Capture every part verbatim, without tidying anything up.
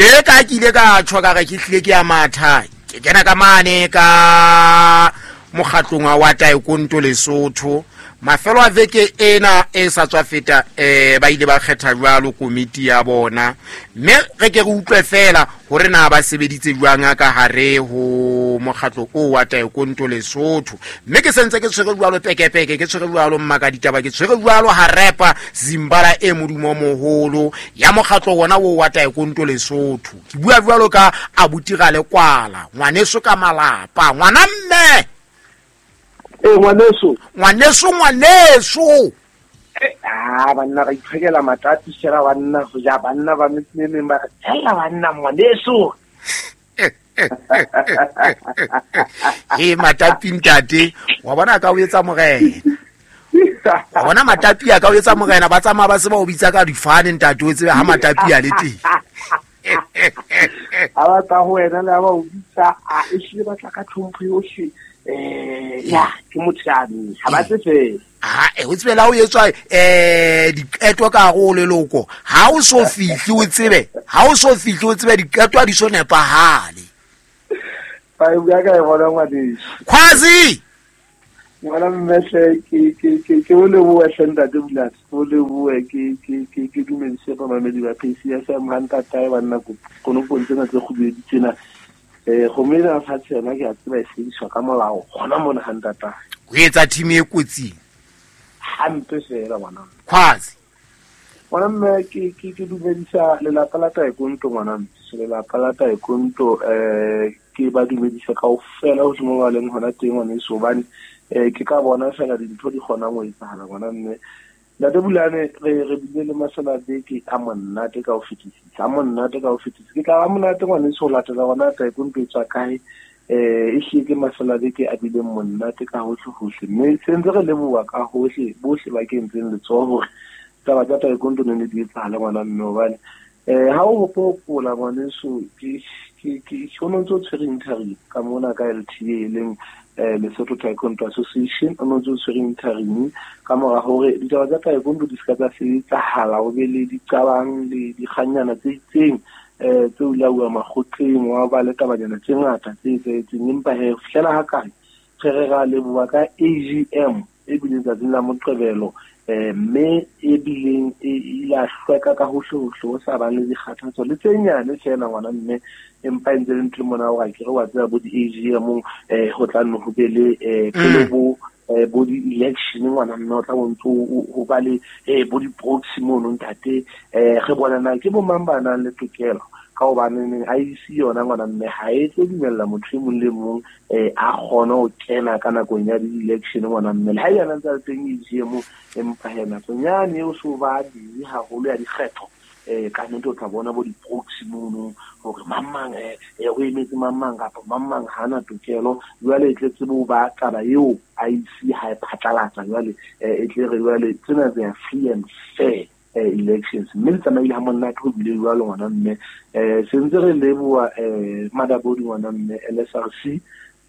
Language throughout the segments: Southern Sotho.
Tje ka ke ile ka tjho ka re ke hlile ke ya matha. Ke kena ka mane ka mokgatlong wa Taekwondo Lesotho. Mafelo a veke ena e sa tswa feta eh ba ile ba kgetha jwalo komiti ya bona. Mme re ke re utlwe fela hore na ba sebeditse jwang ka hare ho mokgatlo o wa Taekwondo Lesotho. Mme ke sentse ke tshwere jwalo pekepeke, ke tshwere jwalo mmaka ditaba, ke tshwere jwalo harepa Zimbala e modumo moholo ya mokgatlo wona o wa Taekwondo Lesotho. Ke bua jwalo ka abuti Ralekwala, ngwaneso ka malapa, ngwana mme. Eh ngwaneso, ngwaneso ngwaneso. Eh ah banna re itlhekela matati shera banna ho ja banna ba metseng ba re tshela banna ngwaneso. He matapi ntate, wa bona ka o etsa morena. Wa bona matapi a ka o etsa morena ba tsamaya ba se ba o bitsa ka difane ntate o tsebe ha matapi a le teng. Ha ba tla ho wena le ha ba o bitsa a e hlile ba tla ka tlhompho yohle. Eh ya ke motshane ha ba tse ha e o tsebela o etswa eh diqeto ka go leloko ha o so fihli o tsebe ha o so fihli o tsebe diqeto a di so nepahale ba bua ka e bona ngwaneso Khwazi ngwana mmehle ke ke ke ke o lebohe hle ntate Bulane o lebohe ke ke ke ke dumedise ba mamedi ba P C S M ha ntatae banna konopong tsena tse kgubedi tsena. Eh gomela fatshe yona ke a tseba e sebediswa ka molao gona mona ha ntata o etsa team e kotsing hampe fela ngwana Khwazi ngwana mme ke ke ke dumedisa lelapa la Taekwondo ngwana mme lelapa la Taekwondo eh ke ba dumedisa kaofela ho mo ba leng hona teng ngwaneso hobane eh ke ka bona fela dintho di kgonang ho etsahala ngwana mme. Ntate Bulane re re bile le masela beke a monate ka ho fetisisa, a monate ka ho fetisisa. Ke tla ba monate ngwaneso ho latela hona Taekwondo e tswa kae eh e hlile ke masela beke a bileng monate ka hohle hohle. Mme se ntse re leboha ka hohle bohle ba kentseng letsoho hore taba tsa Taekwondo ne di etsahala ngwana mme hobane eh ha o hopola ngwaneso ke ke ke o ntse o tshwere interim ka mona ka L T A e leng eh Lesotho Taekwondo Association o ntse o tshwere interim ka mora hore ditaba tsa Taekwondo di ska tsa sebetsahala o be le diqabang le dikganyana tse itseng eh tse o lauwa makgotleng wa ba le tabanyana tse ngata tse etsahetseng empa he fihlela ha kae re re ra leboha ka A G M e bileng tsatsing la Moqebelo eh mme e bileng e ile a hlweka ka hohle hohle ho sa bang le dikgathatso le tse nyane fela ngwana mme empa e ntse le ntho mona o ke re wa tseba bo di-A G M eh ho tla nne ho be le eh pele bo eh bo di-election ngwana mme o tla bontse ho ba le eh bo di-proxy mono ntate eh re bona na ke bo mang ba nang le tokelo ka hobane I E C yona ngwana mme ha e tlo dumella motho e mong le mong eh a kgone ho kena ka nakong ya di-election ngwana mme le ha yona ntse le teng A G M empa he nakong yane eo so ba busy haholo ya dikgetho eh ka nnete o tla bona bo di-proxy mono hore mang mang eh o emetse mang mang kapa mang mang ha ana tokelo jwale e tle tsebe ho ba taba eo I E C ha e phatlalatsa jwale e tle re jwale tsena tse free and fair elections mme le tsamaile ha monate ho bile jwalo ngwana mme eh se ntse re leboha eh Madabodi ngwana mme L S R C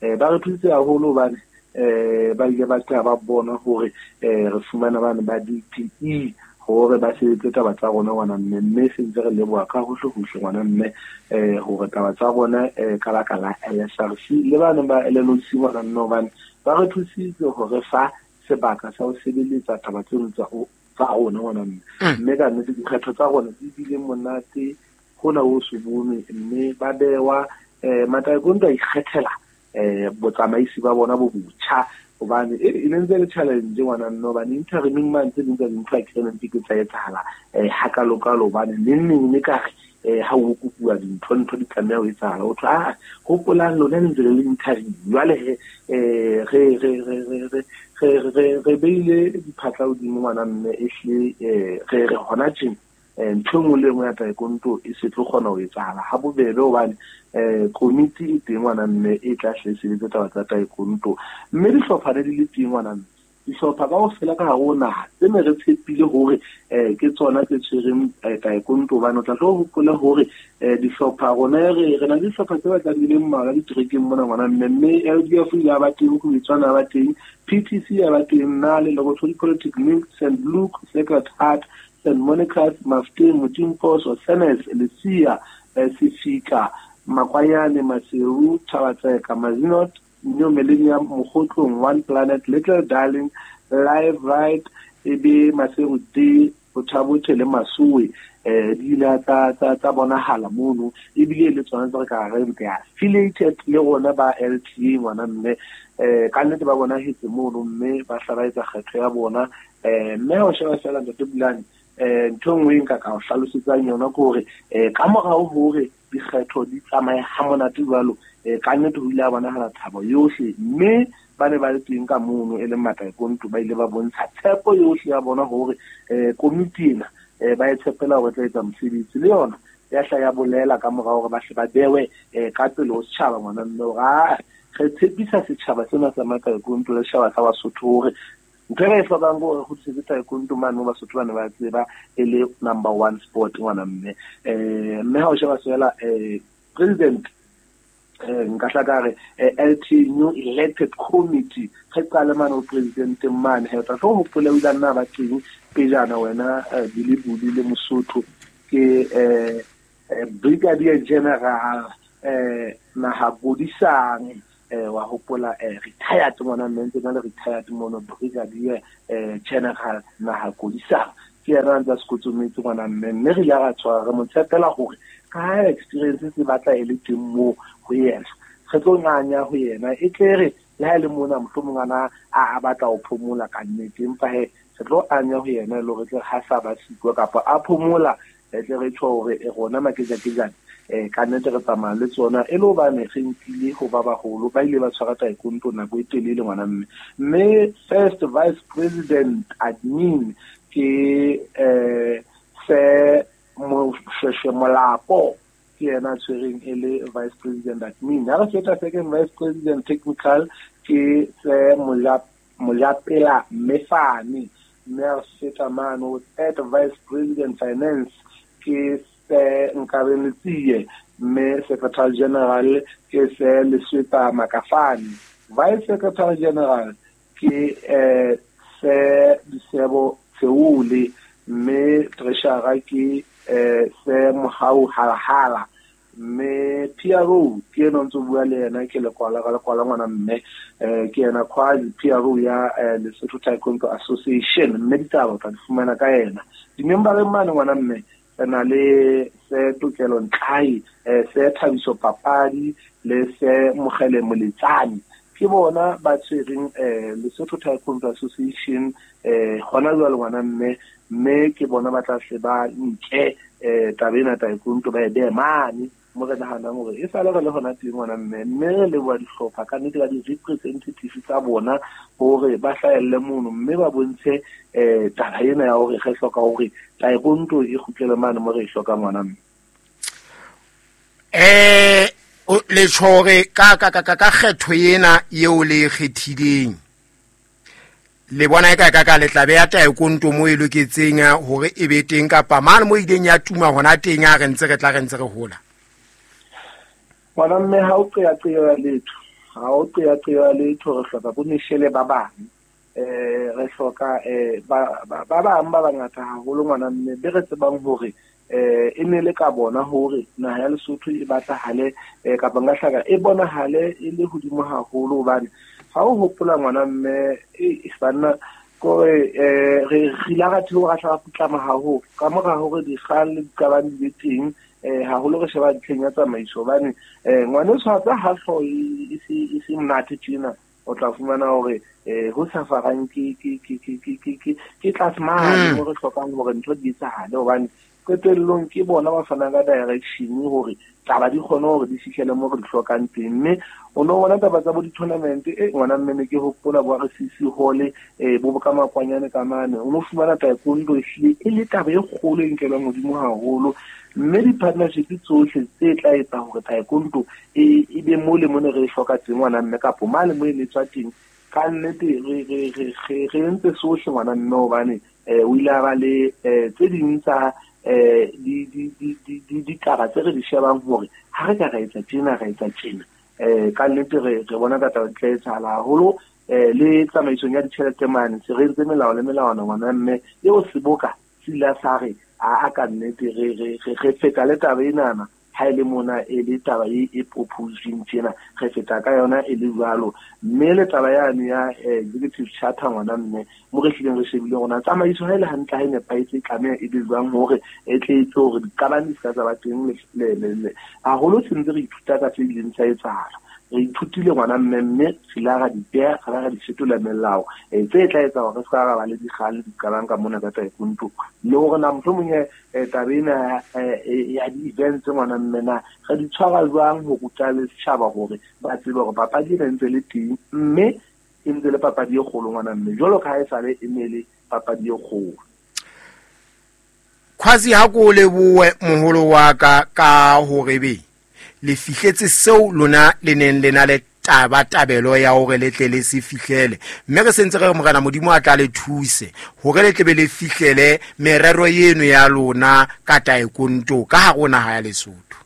eh ba re thusitse haholo hobane eh ba ile ba tla ba bona hore eh re fumana bana ba D P E hore ba sebetse taba tsa rona ngwana mme mme se ntse re leboha ka hohle hohle ngwana mme eh hore taba tsa rona eh ka baka la L S R C le bana ba L N O C ngwana mme hobane ba re thusitse hore fa sebaka sa ho sebeletsa taba tseno tsa tsa rona ngwana mme mme ka nnete dikgetho tsa rona di bile monate hona ho se bonwe mme ba bewa eh Mataekwondo a ikgethela eh botsamaisi ba bona bo botjha hobane e ne ntse le challenge ngwana nna hobane interiming man tse ding tsa dintho a ke reng ke tsa etsahala eh hakalokalo hobane neng neng ne ka re eh ha o kopuwa dintho ntho di tlameha ho etsahala o thwe ah hopolang lona le ntse le le interim jwale he eh re re re re re re re beile diphatla hodimo ngwana mme e hle eh re re hona tjena ntho e nngwe le nngwe ya Taekwondo e se tlo kgona ho etsahala ha bobebe hobane eh komiti e teng ngwana mme e tla hle sebetsa taba tsa Taekwondo mme dihlopha ne di le teng ngwana mme dihlopha kaofela ka hare ho naha tse ne re tshepile hore eh ke tsona tse tshwereng Taekwondo hobane o tla tlo hopola hore eh dihlopha rona re re na le dihlopha tse batlang di le mmalwa diterekeng mona ngwana mme mme L D F ya ba teng Khubetswana ba teng P T C ya ba teng nna le Lerothodi Polytechnic Saint Luke Sacred Heart Saint Monica's, Mafteng, Motimposo, Senes, Lesia, Sefika, Makwanyane, Maseru, Thabatseka, Mazinot, New Millennium, Mokhotlong, One Planet, Little Darling, Live Right, ebe Maseru D, Bothabothe le Masuwe eh di ile tsa tsa tsa bonahala mono ebile le tsona tsa ka re ke affiliated le rona ba L T A ngwana mme eh ka nnete ba bona hetse mono mme ba hla ba etsa kgetho ya bona eh mme ho sheba fela Ntate Bulane eh ntho nngwe nka ka o hlalosetsang yona ke hore eh ka morao hore dikgetho di tsamaye ha monate jwalo eh ka nnete ho ile a bonahala thabo yohle mme ba ne ba le teng ka mono e leng mataekonto ba ile ba bontsha tshepo yohle ya bona hore eh komiti ena eh ba e tshepela hore tla etsa mosebetsi le yona ya hla ya bolela ka morao hore ba hle ba bewe eh ka pele ho setjhaba ngwana mme hore a re tshepisa setjhaba sena sa mataekonto le setjhaba sa Basotho hore ntho e re e hlokang ke hore kgutlisetse taekwondo mane mo Basotho ba ne ba tseba e le number one sport ngwana mme eh mme ha o sheba fela eh president eh nka hla ka re L T new elected committee re qale mane ho president mane he tla tlo hopola o ile nna ba teng pejana wena Billy Buli le Mosotho ke eh Brigadier General eh Nahakodisang eh wa hopola eh retired ngwana mme ntse na le retired mono Brigadier eh General Nahakodisang ke yena ntse a sekotsometse ngwana mme mme re ile ra tshwara re mo tshepela hore ka experience se batla e le teng moo ho yena re tlo nganya ho yena e tle re le ha e le mona mohlomong ana a batla ho phomola ka nnete empa he re tlo anya ho yena le hore tle ha sa ba siko kapa a phomola e tle re tjho hore e rona makejakejane eh ka nnete re tsamaya le tsona e le hobane re nkile ho ba baholo ba ile ba tshwara taekwondo nako e telele ngwana mme mme first vice president admin ke eh se Moshweshwe Molapo ke yena tshwereng e le vice president admin ha re feta second vice president technical ke se Mojapela Mefane mme ha re feta mane third vice president finance ke se Nkabe Letsie mme secretary general ke se Leswetsa Makafane vice secretary general ke eh se Disebo Tseule mme treasurer ke eh se Mohau Halahala mme P R O ke ena ntse bua le yena ke lekwala ka lekwala ngwana mme eh ke yena quasi P R O ya Lesotho Taekwondo Association mme ditaba tla di fumana ka yena di-member mane ngwana mme re na le se Tokelo Ntlai eh se Thabiso Papadi le se Mogele Moletsane ke bona ba tshwereng eh Lesotho Taekwondo Association eh hona jwale ngwana mme mme ke bona ba tla hle ba nke eh taba ena taekwondo ba e behe mane mo re nahanang hore e sale re le hona teng ngwana mme mme re leboha dihlopha ka nnete ka di-representative tsa bona hore ba hlahelle mono mme ba bontshe eh taba ena ya hore re hloka hore taekwondo e kgutlele mane mo re e hlokang ngwana mme eh le tjhore ka ka ka ka kgetho ena eo le kgethileng le bona e ka ka ka le tla beha taekwondo mo e loketseng hore e be teng kapa mane mo ileng ya tuma hona teng a re ntse re tla re ntse re hola ngwana mme ha o qeaqea letho ha o qeaqea letho re hloka bo meshele ba bang eh re hloka eh ba ba bang ba bangata haholo ngwana mme be re tsebang hore eh e ne le ka bona hore naha ya Lesotho e batlahale eh kapa nka hlaka e bonahale e le hodimo haholo hobane ha o hopola ngwana mme e banna kore eh re re la ra theoha ra hla putlama haholo ka mora hore dikgang le diqabang di be teng eh haholo re sheba ntlheng ya tsamaiso hobane eh ngwaneso ha tsa ha hlooho e se e se monate tjena o tla fumana hore eh ho sa farang ke ke ke ke ke ke ke tlase mane mo re hlokang hore ntho di etsahale hobane qetellong ke bona ba fanang ka direction hore taba di kgone hore di fihlele mo re di hlokang teng mme o no bona taba tsa bo di-tournament e ngwana mme ne ke hopola bo R C C Hall eh bo ka makwanyane ka mane o no fumana taekwondo e hlile e le taba e kgolo e nkelwang hodimo haholo mme di-partnership tsohle tse tla etsa hore taekwondo e e be mo le mo ne re e hloka teng ngwana mme kapo mane mo e ne tswa teng ka nnete re re re re entse sohle ngwana mme hobane eh o ile a ba le eh tse ding tsa eh di di di di ditaba tse re di shebang hore ha re ka ra etsa tjena ra etsa tjena eh ka nnete re re bona ka taba di tla etsahala haholo eh le tsamaisong ya ditjhelete mane se re entse melao le melawana ngwana mme eo seboka se ile sa re a a ka nnete re re re feta le taba enana ha ile mona e le taba e e proposing tjena re feta ka yona e le jwalo. Mme le taba yane ya executive charter ngwana mme mo re hlileng re shebile rona tsamaiso ha ile hantle ha e nepahetse tlameha e be jwang hore e tle etse hore diqabang di ska tsa ba teng le le haholo se ntse re ithuta ka tse ileng tsa etsahala. Re ithutile ngwana mme mme re la ra di beha ra ra di fetola melao e tse tla etsa hore re ska ra ba le dikgang le diqabang ka mona ka taekwondo. Le hore na mohlomong taba ena ya di-events ngwana mme na re di tshwara jwang ho ruta le setjhaba hore ba tsebe hore papadi ena e ntse le teng mme e ntse le papadi e kgolo ngwana mme jwalo ka ha e sale e ne le papadi e kgolo. Khwazi ha ko lebohe moholo wa ka ka hore be le fihletse seo lona le neng le na le taba tabelo ya hore le tle le se fihlele, mme re sentse re re Morena Modimo a tla le thuse hore le tle be le fihlele merero eno ya lona ka taekwondo ka hare ho naha ya Lesotho.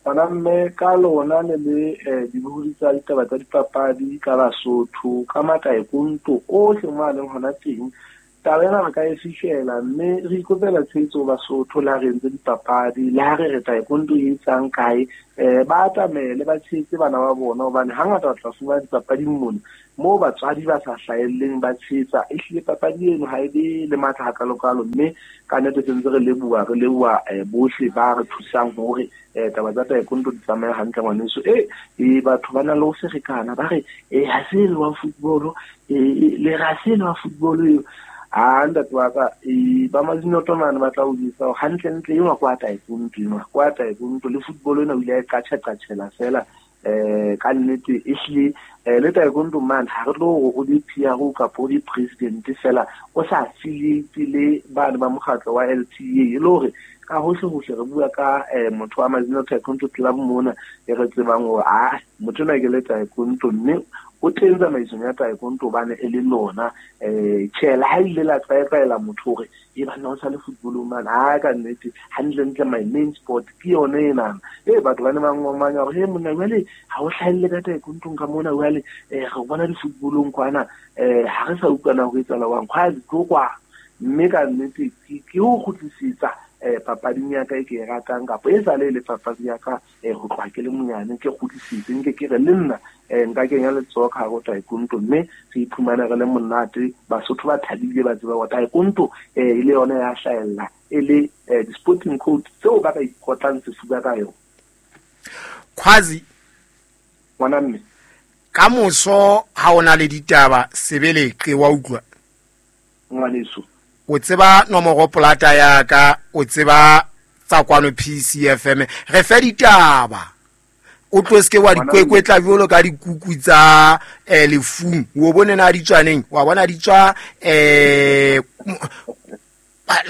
Bana mme ka lona le le dibohodi tsa ditaba tsa dipapadi ka Basotho ka mataekwondo ohle mo a leng hona teng, taba ena re ka e fihlela mme re ikopela tshehetso Basotho le ha re entse dipapadi le ha re re taekwondo e etsang kae, um ba atamele ba tshehetse bana ba bona hobane hangata o tla fumana dipapading mona moo batswadi ba sa hlahelleng ba tshehetsa. Ehlile papadi eno ha e be le matla hakalokalo, mme ka nnete sentse re leboha re leboha bohle ba re thusang hore taba tsa taekwondo di tsamaye hantle ngwaneso. E e batho ba na le ho ferekana ba re e ha se le wa football, e le ra se le wa football eo. A ntate wa ka e ba Mazinoto mane ba tla o jwetsa hore hantlentle enwa kwa taekwondo enwa kwa taekwondo le football ena o ile a e qatjha-qatjhela fela. Um ka nnete ehlile le taekwondo mane ha re tlo hore o be P R O kapa o be president fela o sa affiliate le bane ba mokgatlo wa L T A, e le hore ka hohle hohle re bua ka motho wa Mazinoto Taekwondo Club mona e re tsebang hore ah motho ona ke le taekwondo mme o teng tsamaisong ya taekwondo hobane e le lona. um Tjhe, le ha ile la tlwaetlaela motho hore e banna o sa le football mane, ha ka nnete hantlentle my main sport ke yona enana. E batho ba ne ba ngomanya hore he monna jwale ha o hlahelle ka taekwondong ka mona jwale um re bona di-footballong kwana um ha re sa utlwana ho etsahala jwang kgwazi tlo kwa. Mme ka nnete ke ho kgutlisetsa um papading ya ka e ke e ratang kapa e sale e le papadi ya ka um ho tloha ke le monyane ke kgutlisitse nke ke re le nna um nka kenya letsoho ka hare ho taekwondo mme re iphumane re le monate Basotho ba thabile ba tseba hore taekwondo um e le yona ya hlahella e le di-sporting code tseo ba ka ikotlang sefuba ka yona. Khwazi ngwana mme ka moso ha o na le ditaba sebeleqe wa utlwa ngwaneso, o tseba nomoro polata ya ka, o tseba tsa kwano P C F M, re fe ditaba o tlo seke wa dikwekwetla jwalo ka dikuku tsa eh lefung o bone na di tswaneng wa bona di tswa eh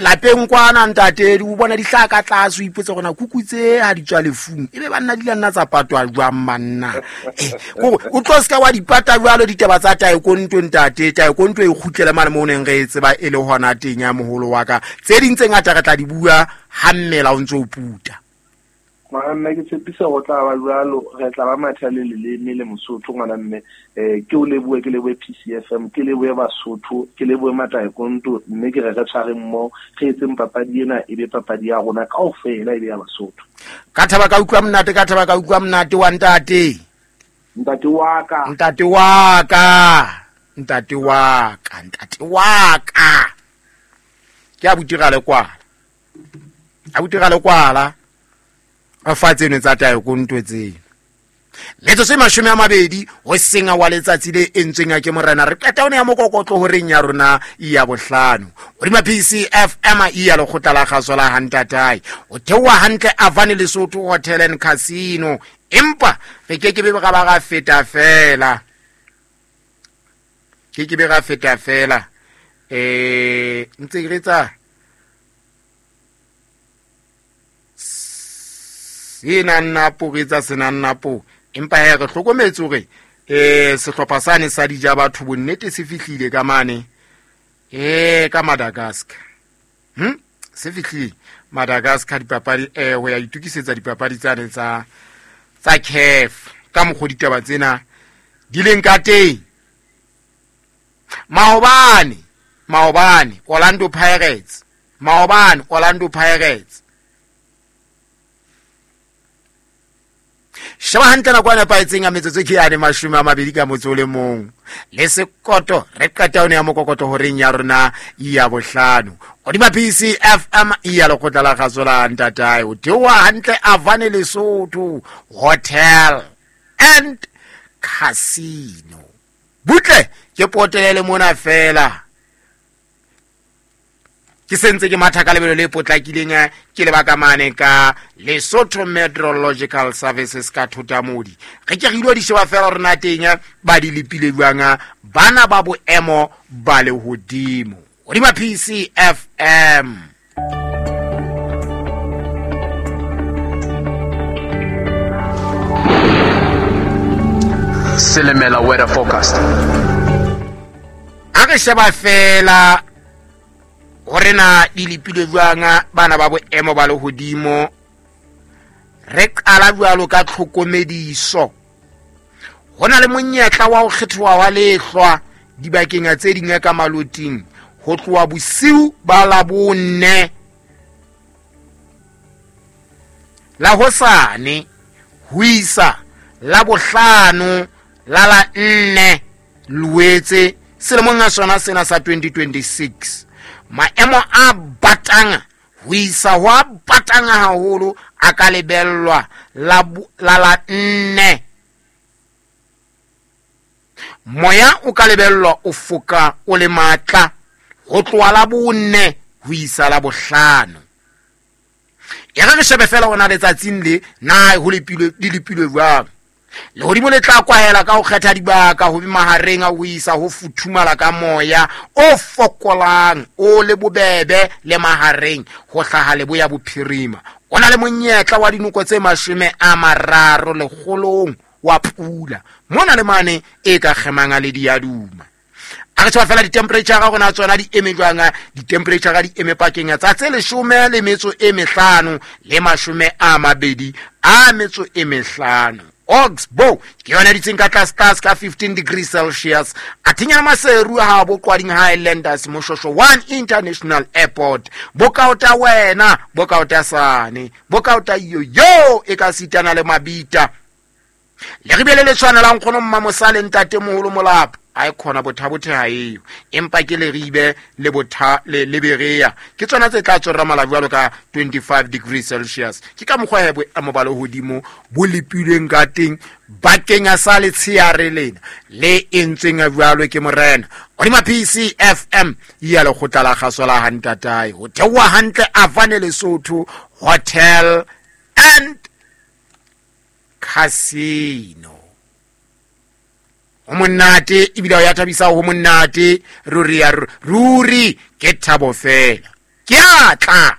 lapeng kwana ntate o bona di hlaka ka tlase o ipotse gona kuku tse ha di tswa lefung ebe banna di la nna tsa patwa jwang manna. Eh o tlo seka wa dipata jwalo ditaba tsa taekwondo ntate, taekwondo e kgutlele mane mo neng re e tseba e le hona teng ya moholo wa ka. Tse ding tse ngata re tla di bua ha mmela o ntse o puta. Ngwana mme ke tshepisa ho tla ba jwalo, re tla ba matha le leleme le Mosotho ngwana mme. um ke o lebohe, ke lebohe P C F M, ke lebohe Basotho, ke lebohe mataekwondo mme ke re re tshwareng mmoho re etseng papadi ena e be papadi ya rona kaofela e be ya Basotho. Ka thaba ka utlwa monate, ka thaba ka utlwa monate wa ntate. Ntate wa ka. Ntate wa ka. Ntate wa ka, ntate wa ka. Ke a butira le kwala. A butira le kwala. Fa tseno tsa taekwondo tseno. Metsotso e mashome a mabedi ho senga wa letsatsi le entsweng ke morena re qeta one ya mokokotlo horeng ya rona ya bohlano hodima P C F M ya lekgotla la kgaso la Hantatae o theoha hantle Avani Lesotho Hotel and Casino, empa re ke ke be ra ba ra feta fela ke ke be ra feta fela eh ntse re tsa sena nna po re tsa sena nna po empa he re hlokometse hore eh sehlopha sane sa dija batho bonnete se fihlile ka mane eh ka Madagascar. Hm se fihlile Madagascar dipapadi eh ho ya itukisetsa dipapadi tsane tsa tsa C A F ka mokgo ditaba tsena di leng ka teng. Maobane maobane Orlando Pirates maobane Orlando Pirates Sheba hantle nako e nepahetseng ya metsotso ke yane mashome a mabedi ka motso o le mong le sekoto re qeta yone ya mokokoto horeng ya rona ya bohlano hodima P C F M ya lekgotla la kgaso la ntatae. O theoha hantle Avane Lesotho Hotel and Casino. Butle ke potelele mona fela ke sentse ke matha ka lebelo le potlakileng ke lebaka mane ka Lesotho Meteorological Services ka Thotamodi. Re ke re ilo di sheba fela rona teng ba di lepile jwang bana ba boemo ba lehodimo hodima P C F M. Silimela weather forecast. A re sheba fela hore na di lepile jwang bana ba boemo ba lehodimo. Re qala jwalo ka tlhokomediso. Ho na le monyetla wa ho kgethoha wa lehlwa dibakeng tse ding ka maloting ho tloha bosiu ba Labone la hosane ho isa la bohlano la la nne Loetse selemong sa sona sena sa twenty twenty-six. Maemo a batang ho isa ho a batang haholo a ka lebellwa la la la nne. Moya o ka lebellwa o foka o le matla ho tloha la bonne ho isa la bohlano. E re re shebe fela hona letsatsing le na ho lepilwe di lepilwe jwang. Lehodimo le tla kwahela ka ho kgetha dibaka ho be mahareng a ho isa ho futhumala ka moya o fokolang o le bobebe le mahareng ho hlaha leboya bophirima. O na le monyetla wa dinoko tse mashome a mararo lekgolong wa pula mona le mane e ka kgemang le diaduma. A re tshwa fela di-temperature ga rona tsona di eme jwang. Di-temperature ga di eme pakeng tsa tse leshome le metso e mehlano le mashome a mabedi a metso e mehlano. Oxbow ke yona ditseng ka tlase tlase ka fifteen degrees Celsius. Athinya Maseru ha bo Qwading Highlanders Moshosho one International Airport. Bokaota wena, bokaota sane, bokaota yo yo e ka sitana le mabita. Le ribele le tshwanelang kgono mmamosale ntate moholo molapa. A e khona bothabothe ha eo empa ke le ribe le botha le leberea ke tsona tse tla tsora mala jwalo ka twenty-five degrees Celsius. Ke ka mokgwa he boemo ba lehodimo bo lepilweng ka teng bakeng sa letsheare lena le entsweng jwalo ke morena hodima P C F M ya lekgotla la kgaso la hantatae. Ho theoha hantle Avane Lesotho Hotel and Casino. Ho monate ebile ya thabisa ho monate ruri ya ruri ke thabo fela. Ke a tla.